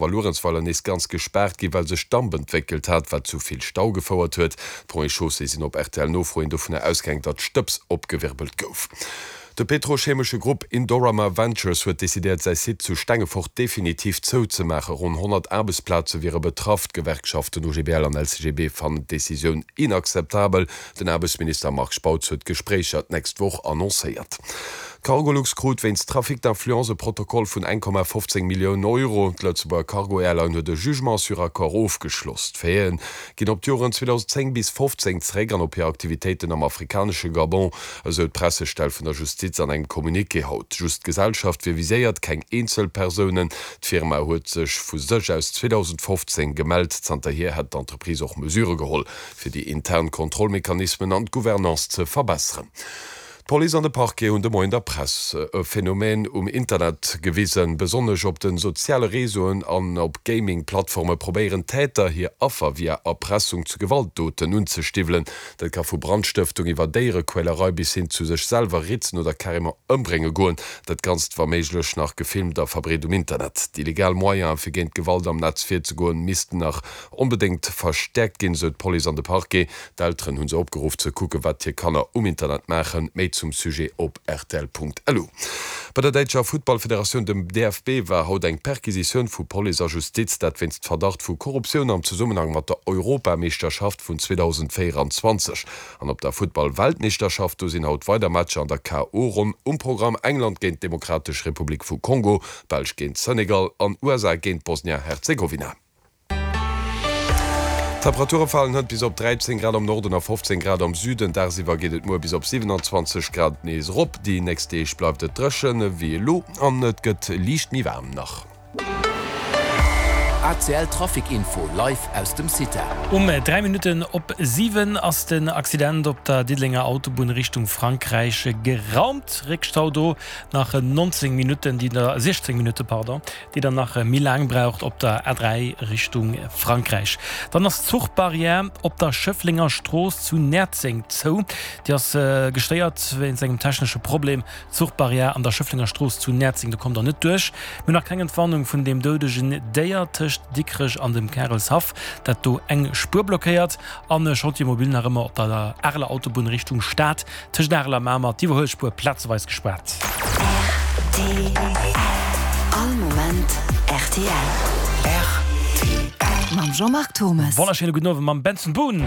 A Luerenzweiler nees ganz gespaart ginn, well sech Damp entwéckelt hat, wat zu vill Stau gefouert huet. D'Ponts et Chaussées sinn op RTL-Nofro hin dovunner ausgaang, datt Stëbs opgewirbelt gouf. De petrochemesche Grupp Indorama Ventures huet decidéiert, säi Site zu Stengefort definitiv zouzemaachen. Ronn 100 Aarbechtsplaze wiere betraff. D'Gewerkschaften OGBL an LCGB fannen d'Decisioun inakzeptabel. Den Aarbechtsminister Marc Spautz huet d'Gespréicher d'nächst Woch annoncéiert. D'Cargolux krut wéinst Trafic d'influence e Protokoll vun 1,15 Millioun Euro. D'Lëtzebuerger Cargo-Airline huet e Jugement sur accord ofgeschloss. D'Faiten ginn op d'Joren 2010 bis 15 zeréck an op hir Aktivitéiten am afrikanesche Gabon, esou d'Pressestell vun der Justiz an engem Communiqué haut. Just d'Gesellschaft wier viséiert, keng Eenzelpersounen. D'Firma huet sech vu sech aus 2015 gemellt. Zanterhier hätt d'Entreprise och Mesure geholl. fir déi intern Kontrollmechanismen an d'Gouvernance ze verbesseren. D'Police an de Parquet hunn de Moien der Press e Phänomen um Internet gewisen. Besonnesch op de soziale Reseauen an op Gaming-Plattforme probéieren Täter, hir Affer via Erpressung zu Gewaltdoten unzestiwwelen. Dat ka vu Brandstëftung iwwer Déierequälerei bis hin zu sech selwer ritzen oder carrément ëmbrénge goen. Dat Ganzt wa méiglech nach gefilmt a verbreet um Internet. Déi legal Moyene fir géint Gewalt am Netz virzegoen, missten nach Onbedéngt verstäerkt ginn, sou d'Police an de Parquet. D'Elteren hu se opgeruff ze kucken, wat hir Kanner um Internet maachen. Méi zum Sujet op rtl.lu. Bei der däitscher Futtballfederatioun, dem DFB, war haut eng Perquisitioun vu Police a Justiz, dat wéinst Verdacht vu Korruptioun am Zesummenhang mat der Europameeschterschaft vun 2024. An op der Futtball-Weltmeeschterschaft, do sinn haut weider Matcher an der KO-Ronn um Programm, England géint d'Demokratesch Republik vu Kongo, Belsch géint Senegal an USA géint Bosnia-Herzegowina. D'Temperature falen hënt bis op 13 Grad am Norden a 15 Grad am Süden. Dagsiwwer geet et muer bis op 27 Grad nees erop. Déi nächst Deeg bleift et dréchen ewéi elo an et gëtt liicht méi waarm nach. ACL Trafic Info live aus dem CITA. Um 3 Minutten op 7 ass den Accident op der Diddelenger Autobunn Richtung Frankräich geraumt. Réckstau do nach 19 Minutten, déi der 16 Minutte pardon. déi dann nach méi laang braucht op der A3 Richtung Frankräich. Dann ass d'Zuchbarrière op der Schëfflenger Strooss zu Näerzeng zou. Déi ass gestéiert wéinst engem technesche Problem. D'Zuchbarrière an der Schëfflenger Strooss zu Näerzeng, do kommt der net duerch. Mir hunn nach keng Entwarnung vun deem doudegen Déier tëscht Dikrech an dem Karelshaff, dat do eng Spuer blockéiert. An e Chantier mobile nach ëmmer op der Areler Autobunn Richtung Stad. Tëscht Arel a Mamer d'Iwwerhuelspuer plazeweis gespaart. Rtl, All Moment rtl. Rtl. Mam Jean-Marc Thommes. Wonnerschéine gudden Owend mam Benson Boone.